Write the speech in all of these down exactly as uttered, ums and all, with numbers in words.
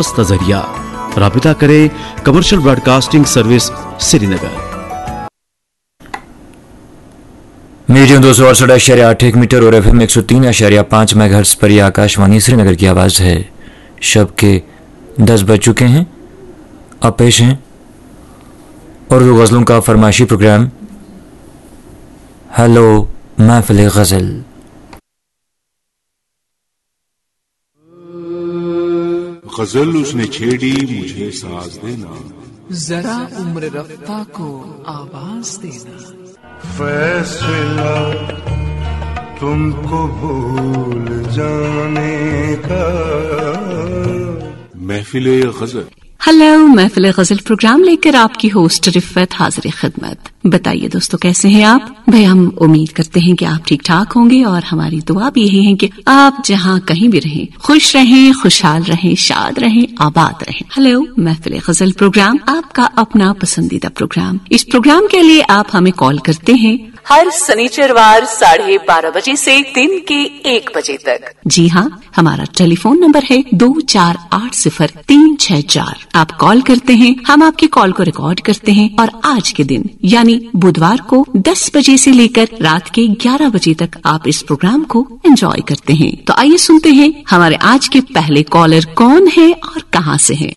راست نظریہ۔ رابطہ کرے کمرشل براڈکاسٹنگ سروس سری نگر۔ میڈیم دو سو اڑسٹھ اشاریہ آٹھ ایک میٹر اور ایف ایم ایک سو تین اشاریہ پانچ میگا ہرٹز پر یہ آکاش وانی سری نگر کی آواز ہے۔ شب کے دس بج چکے ہیں۔ اب پیش ہیں اردو غزلوں کا فرمائشی پروگرام۔ ہیلو محفل غزل۔ غزل اس نے چھیڑی، مجھے ساز دینا۔ ذرا عمر رفتہ کو آواز دینا۔ فیصلہ تم کو بھول جانے کا۔ محفل غزل۔ ہیلو محفل غزل پروگرام لے کر آپ کی ہوسٹ رفت حاضر خدمت۔ بتائیے دوستو، کیسے ہیں آپ؟ بھائی، ہم امید کرتے ہیں کہ آپ ٹھیک ٹھاک ہوں گے اور ہماری دعا بھی یہی ہے کہ آپ جہاں کہیں بھی رہیں، خوش رہیں، خوشحال رہیں، شاد رہیں، آباد رہیں۔ ہیلو محفل غزل پروگرام، آپ کا اپنا پسندیدہ پروگرام۔ اس پروگرام کے لیے آپ ہمیں کال کرتے ہیں ہر سنیچروار ساڑھے بارہ بجے سے دن کے ایک بجے تک۔ جی ہاں، ہمارا ٹیلی فون نمبر ہے دو چار آٹھ صفر تین چھ چار۔ آپ کال کرتے ہیں، ہم آپ کی کال کو ریکارڈ کرتے ہیں اور آج کے دن یعنی بدوار کو دس بجے سے لیکر رات کے گیارہ بجے تک آپ اس پروگرام کو انجوائے کرتے ہیں۔ تو آئیے سنتے ہیں ہمارے آج کے پہلے کالر کون ہے اور کہاں سے ہے۔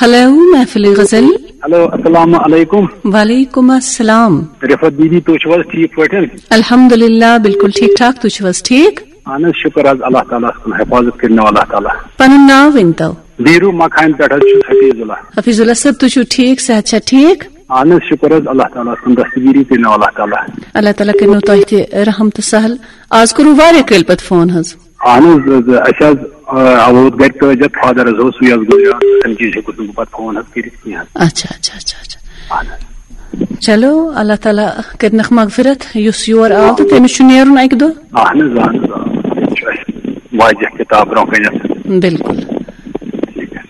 ہیلو محفل غزل۔ ہیلو، السلام علیکم۔ وعلیکم السلام۔ رفعت دیدی، تُہۍ چھِو حظ ٹھیٖک پٲٹھۍ؟ الحمدللہ، بالکل ٹھیک ٹھاک، تُہۍ چھِو حظ ٹھیٖک؟ اہن حظ، شُکر حظ اللہ تعالیٰ ہَس کُن، حفاظت کٔرِنو اللہ تعالیٰ۔ پنُن ناو ؤنۍ تو۔ بیٖروٗ مکھامہِ پٮ۪ٹھ حظ چھُس حفیظ اللہ۔ حفیظ اللہ صٲب، تُہۍ چھِو ٹھیٖک، صحت چھا ٹھیٖک؟ اہن حظ، شُکر حظ اللہ تعالیٰ ہَس کُن، دستگیٖری کٔرِنو اللہ تعالیٰ۔ اللہ تعالیٰ کٔرِنو تۄہہِ تہِ رحم تہٕ سہل۔ آز کوٚروٕ واریاہ کٲلۍ پتہٕ فون حظ۔ اہن حظ، حظ، اَسہِ حظ، آ، ووت گرِ تٲجر، فادر حظ اوس، سُے حظ گُزریو، تَمہِ چیٖز ہیوٚکُس نہٕ بہٕ پتہٕ فون حظ کٔرِتھ کینٛہہ حظ۔ اچھا، اچھا، اچھا، اچھا۔ اہن حظ۔ چلو، اللہ تعالیٰ کٔرنَکھ مغفرت، یُس یور آو تہٕ تٔمِس چھُ نیرُن اَکہِ دۄہ۔ اہن حظ، اہن حظ، آ، یہِ چھُ اَسہِ واضح کِتاب برونٛہہ کَنٮ۪تھ۔ بِلکُل۔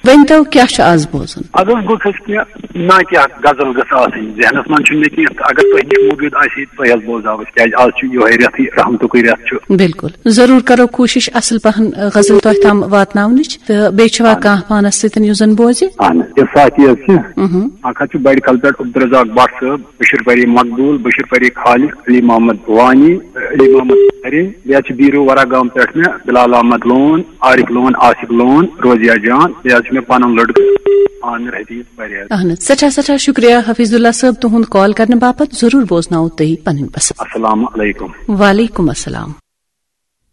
ؤنۍ تو، کیٛاہ چھُ آز بوزُن؟ اَدٕ حظ، بہٕ چھُس کینٛہہ نا کینٛہہ غزل گٔژھ آسٕنۍ ذہنَس منٛز، چھُنہٕ مےٚ کینٛہہ، اگر تۄہہِ نِش موٗجوٗد آسہِ، تُہۍ حظ بوزناوو أسۍ، کیٛازِ آز چھُ یِہوٚے رٮ۪تھٕے رحمتُکُے رٮ۪تھ چھُ۔ بِلکُل، ضروٗر کرو کوٗشِش اَصٕل پَہَن، آ، غزل تۄہہِ تام واتناونٕچ، تہٕ بیٚیہِ چھُوا آ۔ کانٛہہ پانَس سۭتۍ یُس زَن بوزِ؟ اَہَن حظ، یہِ ساتھی حظ چھِ۔ مہم۔ اَکھ حظ چھُ بَڑِ کَلہٕ پٮ۪ٹھ عبدالرزاق بٹ صٲب، بشیر پری مقبول، بشیر پری خالق، علی محمد وانی، علی محمد کریم، بیٚیہِ حظ چھِ بیٖروٗ ورا گام پٮ۪ٹھ مےٚ بلال احمد لون، عارف لون، آصف لون، روزیہ جان، بیٚیہِ حظ چھُ مےٚ پنُن لڑکہٕ عامر حفیظ پرہیز۔ اہن حظ، سٮ۪ٹھاہ سٮ۪ٹھاہ شُکریہ حفیظ اللہ صٲب تُہُنٛد کال کرنہٕ باپتھ، ضروٗر بوزناوو تُہۍ پنٕنۍ پسند۔ السلام علیکم۔ وعلیکم السلام۔